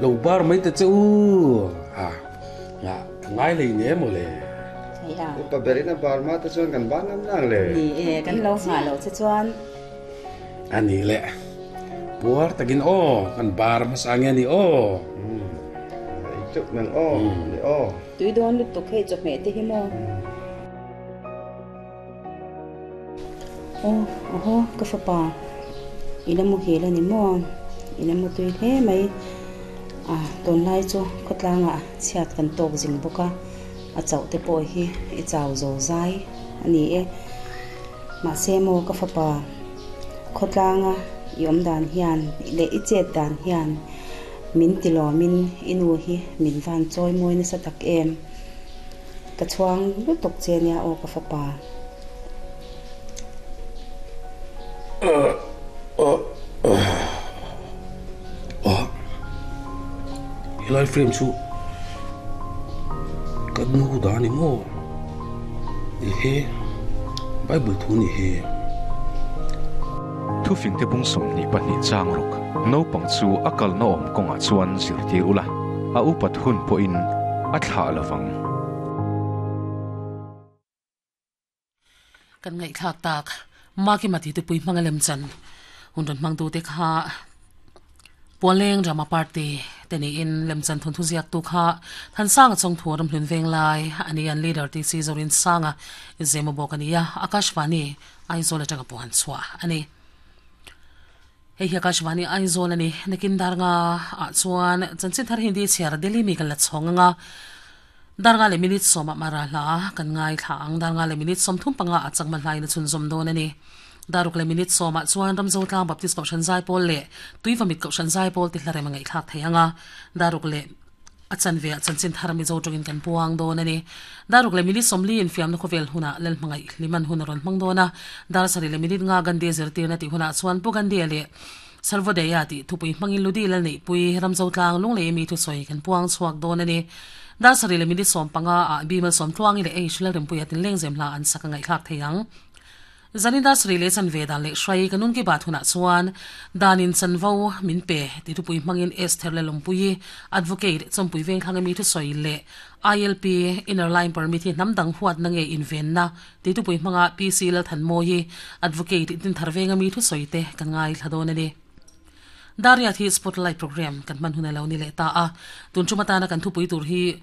Lo bar mai ta che u. Ha, nga ka ngai hlei ne maw le. Hei a. Upa berin a bar hma te chuan kan bar ngam nang le. Ni e, kan lo nghah loh che chuan. A ni le. Puar takin aw, kan bar hmasa nge ni aw. Ei teuh nang aw, ni aw. Tui dawn lutuk hei chawhmeh te hi maw. Aw, ahaw, ka fapa, i la muhil a ni maw? I la mutui hle mai. A, tunlai chu khawtlangah chhiat kan tawk zing bawk a, a chauh te pawh hi i chau zo zai a ni e. Mahse maw ka fapa, khawtlanga i awm dan hian leh i chet dan hian min tilawmin i nu hi min van chawi mawi nasa tak em? Ka chhuang lutuk che nia aw ka fapa. Helai frame chu ka nu dah a ni maw? Ehe Bible thu ni hi. Thufingte bung 22 chang ruk naupang chu a kalna awm kawngah chuan zirtir ula, a upat hun pawhin a thlah lovang. Kan ngaihthlak tak Makima tih tupui hmanga lem chan hun rawn hmang tute kha Pualeng Drama Party te niin lem chan thawnthu ziaktu kha Thansanga Chawngthu Ramhlun Venglai a ni an leader TC Zorinsanga Zemo bawk a ni a, Akashvani Aizawl atanga puan chhuah a ni. Hei hi Akashvani Aizawl a ni. Nakin dar nga ah chuan chanchin thar Hindi chhiar Delhi mi kan la chhawng ang a. Dar nga leh minute sawmah mara hla kan ngaithla ang. Dar nga leh minute 35 ah chakma hlain a chhunzawm dawn a ni. Dar ruk leh minute sawmah chuan Ramzotlang Baptist Kohhran Zaipawl leh Tuivamit Kohhran Zaipawl ti hla rem a ngaihthlak thei ang a. Dar ruk leh A chanve ah chanchin thar Mizo tawngin kan puang dawn a ni. Dar ruk leh minute 40 infiamna khawvel hunah Lalhmangaih Hliman hun a rawn hmang dawn a. Dar sarih leh minute nga Gandhi zirtirna tih hunah chuan Pu Gandhi-a leh Sarvodaya tih thupui hmangin Ludi Lalneihpui, Ramzotlang, Lunglei mi thusawi kan puang chhuak dawn a ni. Dar sarih leh minute 15 ah Bimal Sawmtluangi leh H Lalrempuia tinlengzem hla an sak a ngaihthlak thei ang. Zan industry leh chanve dan leh hrai ka nun ki bat hunah chuan danin chanvo min pe ti thupui hmangin Esther Lalawmpuii, Advocate, Chawmpui Vengthlang emi thusawi leh ILP, Inner Line Permit, hi hnam dang huatna nge invenna ti thupui hmanga PC Lalthanmawii, Advocate, Dinthar Veng ami thusawi te kan ngaithla dawn a ni. Dariat hi Spotlight Programme kan hman hun a lo ni leh ta a, tun tum atana kan thupui tur hi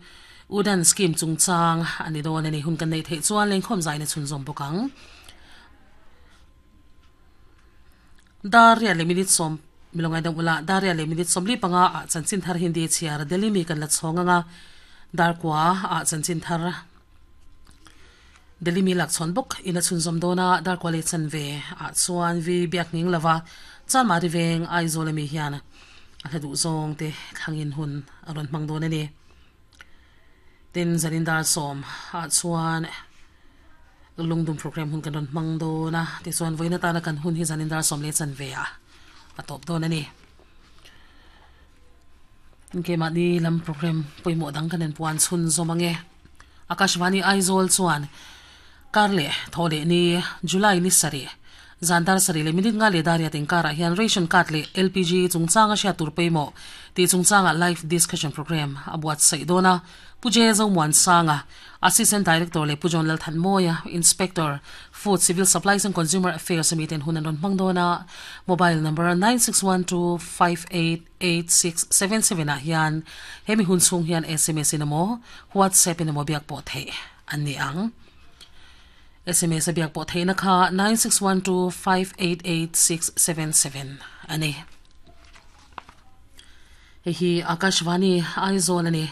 Udan Scheme chungchang a ni dawn a ni. Hun kan neih theih chuan lengkhawm zaina chhunzawm bawk ang. Dariat leh minute sawm Milawng ngaidam ula, Dariat leh minute 45 ah chanchin thar Hindi chhiar Delhi mi kan la chhawng ang a, Darkua ah chanchin thar Delhi mi lak chhawn bawk in a chhunzawm dawn a, Darkua leh chanve ah chuan vi biak nghing lova Chanmari veng Aizawl ami hian a hla duh zawng te thlangin hun a rawn hmang dawn a ni. Tin, zanin dar sawm ah chuan lungdum program hun kan rawn hmang dawn a, tichuan vawiin atana kan hun hi zanin dar sawm leh chanve ah a tawp dawn a ni. Keimahni lam program pawimawh dang kan inpuan chhunzawm ang e. Akashvani Aizawl chuan kar leh thaw leh ni July ni sarih zan dar sarih leh minute nga leh dar riat inkarah hian ration card leh LPG chungchanga hriat tur pawimawh tih chungchangah live discussion program a buatsaih dawn a. Pu J. Zomuansanga, Assistant Director leh Pu John Lalthanmawia, Inspector, Food, Civil Supplies and Consumer Affairs ami ten hun an rawn hmang dawn a. Mobile number 961258. 8677 ah hian hemi hun chhung hian sms in emaw WhatsApp in emaw biak pawh theih an ni ang. Sms a biak pawh theihna kha 9612588677 a ni. Hei hi Akashvani Aizawl a ni.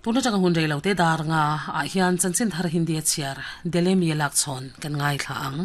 Tun atanga hun rei lo te dar nga ah hian chanchin thar Hindi a chhiar Delemi a lak chhawn kan ngaithla ang.